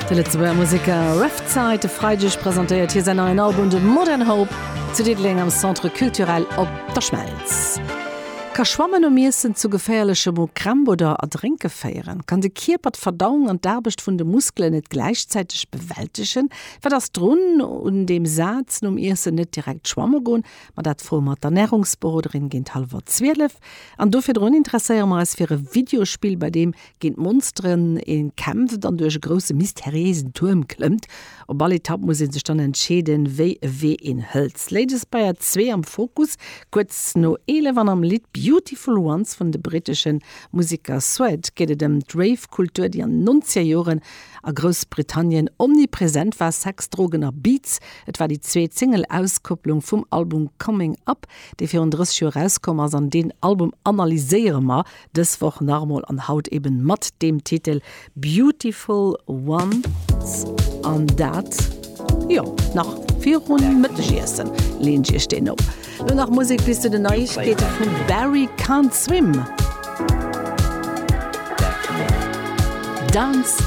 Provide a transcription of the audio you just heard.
De Lëtzebuerger Museker Ref Zeit e Freideg presentéiert hie säin neien Album The Modern Hope zu Diddeleng am Centre Culturel Op der Schmelz. Ka Schwammen nom Iessen zu geféierleche Mokrämp oder Erdrénke féieren? Kann de Kierper d'Verdauung an d'Aarbecht vun de Muskelen net gläichzäiteg bewältegen? Wat ass drun un deem Saz, nom Iessen net direkt schwamme goen? Ma dat froe mer d'Ernärungsberoderin géint hallwer 12. An do virdrun interesséiere mer eis fir e Videospill, bei deem Géint Monsteren een kämpft an duerch e grousse mysteriéisen Tuerm klëmmt. Op all Etapp muss een sech dann entscheeden, wéi e Wee een hëlt. Ladies Bayer 2 am Fokus, kuerz no 11 an am Lidd Beautiful Ones vun de britteschen Museker Suede geet et ëm d'Rave-Kultur, déi an den nonzeger Joren a Groussbritannien omnipresent war, Sex, Drogen a Beats. Et war déi zweet Single-Auskopplung vum Album Coming Up, dee virun 30 Joer erauskomm ass an deen Album analyséiere mer Dës Woch nach emol an haut eben mat deem Titel Beautiful Ones an dat, jo, nach virun Mëttegiessen leen ech iech deen op. Lo nach Musek bis zu den Neiegkeete vum Barry Can't Swim. Dance.